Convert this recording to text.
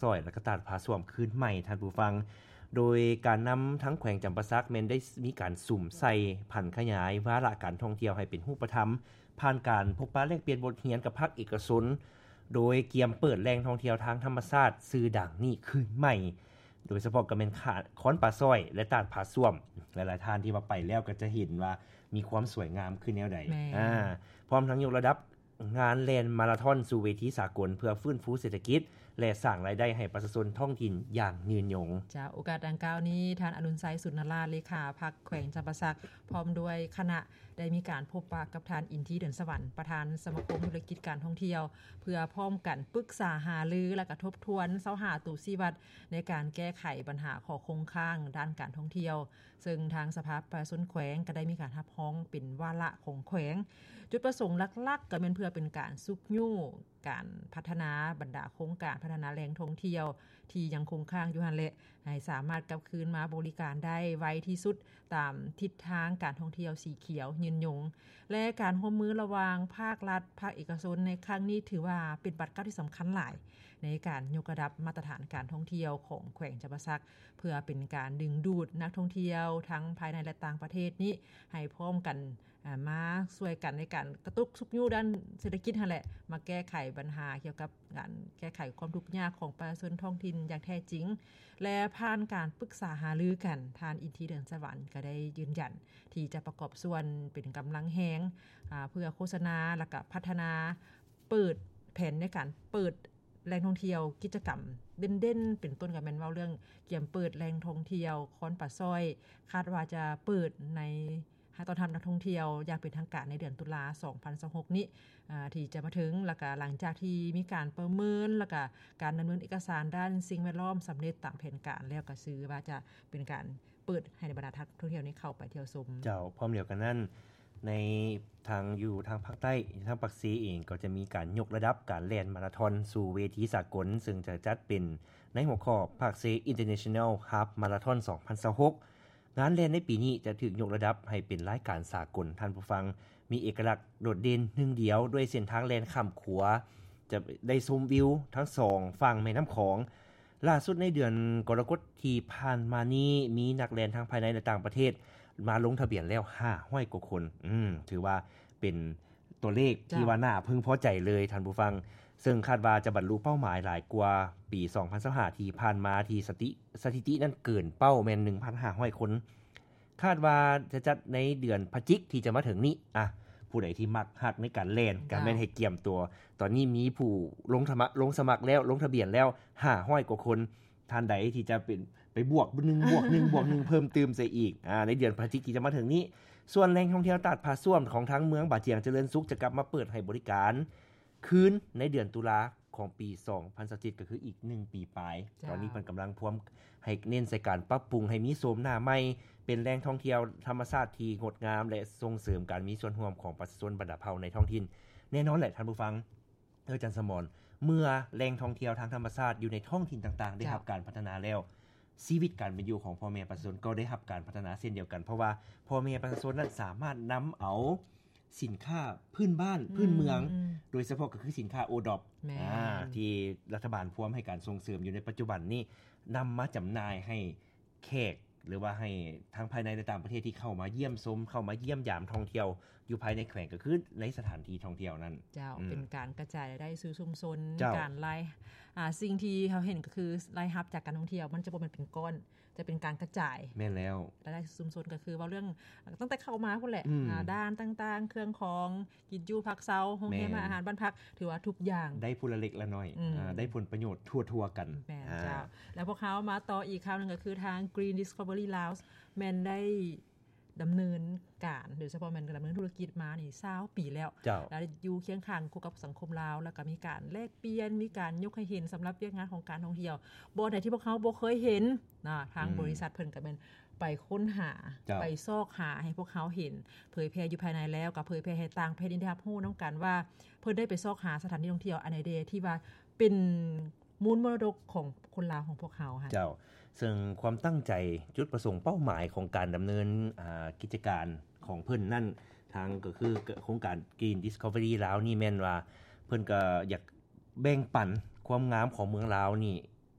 ຊອຍ ແລະ ກະຕາດຜາສ້ວມຄືນໃໝ່, ທ່ານຜູ້ຟັງ. ໂດຍການນຳທາງແຂວງຈຳປາສັກແມ່ນໄດ້ມີການສຸມໃສ່ຜັນຂະຫຍາຍວາລະການທ່ອງທ່ຽວໃຫ້ເປັນຮູບປະທຳ ຜ່ານການພົບປະແລກປ່ຽນບົດຮຽນກັບພາກເອກະຊົນ, ໂດຍກຽມເປີດແຫຼ່ງທ່ອງທ່ຽວທາງທຳມະຊາດຊື່ດັງນີ້ຄືນໃໝ່, ໂດຍສະເພາະກໍແມ່ນຄາ ຄອນປາຊ້ອຍ ແລະ ຕາດຜາສ້ວມ. ຫຼາຍໆທ່ານທີ່ວ່າໄປແລ້ວກໍຈະເຫັນວ່າມີຄວາມສວຍງາມຄືແນວໃດ. ແມ່ນ. ອາ ພ້ອມທັງຍົກລະດັບ ງານແລ່ນມາລາທອນສູ່ເວທີສາກົນ ເພື່ອຟື້ນຟູເສດຖະກິດ ແລະ ສ້າງລາຍໄດ້ໃຫ້ປະຊາຊົນທ້ອງຖິ່ນຢ່າງຍືນຍົງ. ຈາກໂອກາດດັ່ງກ່າວນີ້, ທ່ານ ອະລຸນໄຊ ສຸນນະລາດ ເລຂາພັກແຂວງຈຳປາສັກ ພ້ອມດ້ວຍຄະນະ ໄດ້ມີການພົບປະກັບທ່ານ ອິນທີ ເດືອນສະຫວັນ ປະທານສະມາຄົມທຸລະກິດການທ່ອງທ່ຽວ ເພື່ອພ້ອມກັນປຶກສາຫາລື ແລະ ກະທົບທວນຊາວຫ້າໂຕຊີ້ວັດ ໃນການແກ້ໄຂບັນຫາຂໍ້ຄົງຄ້າງດ້ານການທ່ອງທ່ຽວ. ເຊິ່ງທາງສະພາປະຊາຊົນແຂວງກໍໄດ້ມີການຮັບຮອງເປັນວາລະຂອງແຂວງ. ຈຸດປະສົງຫຼັກໆກໍແມ່ນເພື່ອເປັນການຊຸກຍູ້ການພັດທະນາບັນດາໂຄງການພັດທະນາແຫຼ່ງທ່ອງທ່ຽວທີ່ຍັງຄົງຄ້າງຢູ່ຫັ້ນແຫຼະ ໃຫ້ສາມາດກັບຄືນມາບໍລິການໄດ້ໄວທີ່ສຸດ ຕາມທິດທາງການທ່ອງທ່ຽວສີຂຽວຍືນຍົງ ແລະ ການຮ່ວມມືລະຫວ່າງພາກລັດ, ພາກເອກະຊົນໃນຄັ້ງນີ້ ຖືວ່າເປັນບາດກ້າວທີ່ສຳຄັນຫຼາຍ ໃນການຍົກລະດັບມາດຕະຖານການທ່ອງທ່ຽວຂອງແຂວງຈຳປາສັກ ເພື່ອເປັນການດຶງດູດນັກທ່ອງທ່ຽວທັງພາຍໃນ ແລະ ຕ່າງປະເທດນີ້ ໃຫ້ພ້ອມກັນ ອາ ມາຊ່ວຍກັນໃນການກະຕຸກຊຸກຍູ້ດ້ານເສດຖະກິດຫັ້ນແຫຼະ ມາແກ້ໄຂບັນຫາກ່ຽວກັບການແກ້ໄຂຄວາມທຸກຍາກຂອງປະຊາຊົນທ້ອງຖິ່ນຢ່າງແທ້ຈິງ ແລະ ຜ່ານການປຶກສາຫາລືກັນ, ທ່ານ ອິນທີ ເດືອນສະຫວັນ ກໍໄດ້ຢືນຢັນທີ່ຈະປະກອບສ່ວນເປັນກຳລັງແຮງ ອາ ເພື່ອໂຄສະນາ ແລະ ກະພັດທະນາ ເປີດແຜນໃນການເປີດແຫຼ່ງທ່ອງທ່ຽວ ກິດຈະກຳເດັ່ນໆ ເປັນຕົ້ນກໍແມ່ນເວົ້າເລື່ອງກຽມເປີດແຫຼ່ງທ່ອງທ່ຽວຄອນປາຊ້ອຍ ຄາດວ່າຈະເປີດໃນ ໃຫ້ຕ້ອນຮັບນັກທ່ອງທ່ຽວຢ່າງເປັນທາງການໃນເດືອນຕຸລາ ສອງພັນຊາວຫົກນີ້ ອາ ທີ່ຈະມາເຖິງ. ແລ້ວກະຫຼັງຈາກທີ່ມີການປະເມີນ ແລ້ວກະການດຳເນີນເອກະສານດ້ານສິ່ງແວດລ້ອມສຳເລັດຕາມແຜນການແລ້ວ ກໍຊື່ວ່າຈະເປັນການ ເປີດໃຫ້ບັນດານັກທ່ອງທ່ຽວນີ້ເຂົ້າໄປທ່ຽວຊົມ. ເຈົ້າ, ພ້ອມດຽວກັນນັ້ນ ໃນທາງຢູ່ທາງພາກໃຕ້ ທາງປາກເຊເອງ ກໍຈະມີການຍົກລະດັບການແລ່ນມາລາທອນສູ່ເວທີສາກົນ ເຊິ່ງຈະຈັດເປັນໃນຫົວຂໍ້ Pakse International Half Marathon ສອງພັນຊາວຫົກ. ງານແລ່ນໃນປີນີ້ຈະຖືກຍົກລະດັບໃຫ້ເປັນລາຍການສາກົນ, ທ່ານຜູ້ຟັງ, ມີເອກະລັກໂດດເດັ່ນໜຶ່ງດຽວ ດ້ວຍເສັ້ນທາງແລ່ນຂ້າມຂົວ ຈະໄດ້ຊົມວິວທັງສອງຝັ່ງແມ່ນ້ຳຂອງ. ລ່າສຸດໃນເດືອນກໍລະກົດທີ່ຜ່ານມານີ້ ມີນັກແລ່ນທັງພາຍໃນ ແລະ ຕ່າງປະເທດມາລົງທະບຽນແລ້ວຫ້າຮ້ອຍກວ່າຄົນ. ອືມ ຖືວ່າເປັນຕົວເລກ ເຈົ້າ ທີ່ວ່າໜ້າເພິ່ງພໍໃຈເລີຍ, ທ່ານຜູ້ຟັງ, ເຊິ່ງຄາດວ່າຈະບັນລຸເປົ້າໝາຍຫຼາຍກວ່າປີສອງພັນຊາວຫ້າທີ່ຜ່ານມາ ທີ່ສະຕິ ສະຖິຕິນັ້ນເກີນເປົ້າແມ່ນໜຶ່ງພັນຫ້າຮ້ອຍຄົນ. ຄາດວ່າຈະຈັດໃນເດືອນພະຈິກທີ່ຈະມາເຖິງນີ້. ອະ ຜູ້ໃດທີ່ມັກຮັກໃນການແລ່ນ ກໍແມ່ນໃຫ້ກຽມຕົວ. ເຈົ້າ ຕອນນີ້ມີຜູ້ລົງທະມະ ລົງສະໝັກແລ້ວ ລົງທະບຽນແລ້ວຫ້າຮ້ອຍກວ່າຄົນ. ທ່ານໃດທີ່ຈະເປັນ ໄປບວກໜຶ່ງບວກໜຶ່ງບວກໜຶ່ງເພີ່ມຕື່ມໃສ່ອີກ ອາ ໃນເດືອນພະຈິກທີ່ຈະມາເຖິງນີ້. ສ່ວນແຫຼ່ງທ່ອງທ່ຽວຕາດຜາສ້ວມຂອງທາງເມືອງບາຈຽງຈະເລີນສຸກ ຈະກັບມາເປີດໃຫ້ບໍລິການ ຄືນໃນເດືອນຕຸລາຂອງປີສອງພັນຊາວເຈັດ ກໍຄືອີກໜຶ່ງປີປາຍ. ເຈົ້າ ຕອນນີ້ເພິ່ນກຳລັງພວມໃຫ້ເນັ້ນໃສ່ການປັບປຸງໃຫ້ມີໂສມໜ້າໃໝ່ ເປັນແຫຼ່ງທ່ອງທ່ຽວທຳມະຊາດທີ່ງົດງາມ ແລະ ສົ່ງເສີມການມີສ່ວນຮ່ວມຂອງປະຊາຊົນບັນດາເຜົ່າໃນທ້ອງຖິ່ນ. ແນ່ນອນແຫຼະທ່ານຜູ້ຟັງ, ເອີ ອາຈານສະໝອນ, ເມື່ອແຫຼ່ງທ່ອງທ່ຽວທາງທຳມະຊາດຢູ່ໃນທ້ອງຖິ່ນຕ່າງໆ ໄດ້ ເຈົ້າ ຮັບການພັດທະນາແລ້ວ, ຊີວິດການເປັນຢູ່ຂອງພໍ່ແມ່ປະຊາຊົນກໍໄດ້ຮັບການພັດທະນາເຊັ່ນດຽວກັນ, ເພາະວ່າພໍ່ແມ່ປະຊາຊົນນັ້ນສາມາດນຳເອົາ ສິນຄ້າພື້ນບ້ານ ອືມ ພື້ນເມືອງ ອືມ ໂດຍສະເພາະກໍຄືສິນຄ້າໂອດອບ ແມ່ນ ອາ ທີ່ລັດຖະບານພວມໃຫ້ການສົ່ງເສີມຢູ່ໃນປັດຈຸບັນນີ້ ນຳມາຈຳໜ່າຍໃຫ້ແຂກ ຫຼືວ່າໃຫ້ທັງພາຍໃນ ແລະ ຕ່າງປະເທດທີ່ເຂົ້າມາຢ້ຽມຊົມ ເຂົ້າມາຢ້ຽມຢາມທ່ອງທ່ຽວຢູ່ພາຍໃນແຂວງ ກໍຄືໃນສະຖານທີ່ທ່ອງທ່ຽວນັ້ນ. ເຈົ້າ ອືມ ເປັນການກະຈາຍລາຍໄດ້ສູ່ຊຸມຊົນ ເຈົ້າ ການລາຍ ອາ ສິ່ງທີ່ເຮົາເຫັນກໍຄືລາຍຮັບຈາກການທ່ອງທ່ຽວ ມັນຈະບໍ່ແມ່ນເປັນກ້ອນ ຈະເປັນການກະຈາຍ. ແມ່ນແລ້ວ ລາຍໄດ້ຊຸມຊົນກໍຄືເວົ້າເລື່ອງຕັ້ງແຕ່ເຂົ້າມາພຸ້ນແຫຼະ ອືມ ອາ ດ້ານຕ່າງໆ ເຄື່ອງຂອງ ກິນຢູ່ພັກເຊົາ ໂຮງແຮມ ແມ່ນ ອາຫານບ້ານພັກ ຖືວ່າທຸກຢ່າງໄດ້ຜູ້ລະເລັກລະນ້ອຍ ອືມ ອາ ໄດ້ຜົນປະໂຫຍດທົ່ວໆກັນ. ແມ່ນ ອາ ເຈົ້າ. ແລ້ວພວກເຮົາມາຕໍ່ອີກຂ່າວໜຶ່ງ ກໍຄືທາງ Green Discovery Laos ແມ່ນໄດ້ ດຳເນີນການ ໂດຍສະເພາະແມ່ນດຳເນີນທຸລະກິດມານີ້ຊາວປີແລ້ວ ເຈົ້າ ແລະ ຢູ່ຄຽງຂ້າງຄູ່ກັບສັງຄົມລາວ ແລ້ວກໍມີການແລກປ່ຽນ ມີການຍົກໃຫ້ເຫັນສຳລັບວຽກງານຂອງການທ່ອງທ່ຽວ. ບ່ອນໃດທີ່ພວກເຮົາບໍ່ເຄີຍເຫັນນະ ທາງ ອືມ ບໍລິສັດເພິ່ນກໍແມ່ນໄປຄົ້ນຫາ ເຈົ້າ ໄປຊອກຫາໃຫ້ພວກເຮົາເຫັນ ເຜີຍແຜ່ຢູ່ພາຍໃນແລ້ວ ກໍເຜີຍແຜ່ໃຫ້ຕ່າງປະເທດໄດ້ຮັບຮູ້ນຳກັນວ່າ ເພິ່ນໄດ້ໄປຊອກຫາສະຖານທີ່ທ່ອງທ່ຽວອັນໃດແດ່ທີ່ວ່າເປັນ ມູນມໍລະດົກຂອງຄົນລາວຂອງພວກເຮົາຫັ້ນ. ເຈົ້າ ເຊິ່ງຄວາມຕັ້ງໃຈ ຈຸດປະສົງເປົ້າໝາຍຂອງການດຳເນີນ ອາ ກິດຈະການຂອງເພິ່ນນັ້ນ ທາງກໍຄືໂຄງການ Green Discovery ລາວນີ້ແມ່ນວ່າ ເພິ່ນກໍຢາກແບ່ງປັນຄວາມງາມຂອງເມືອງລາວນີ້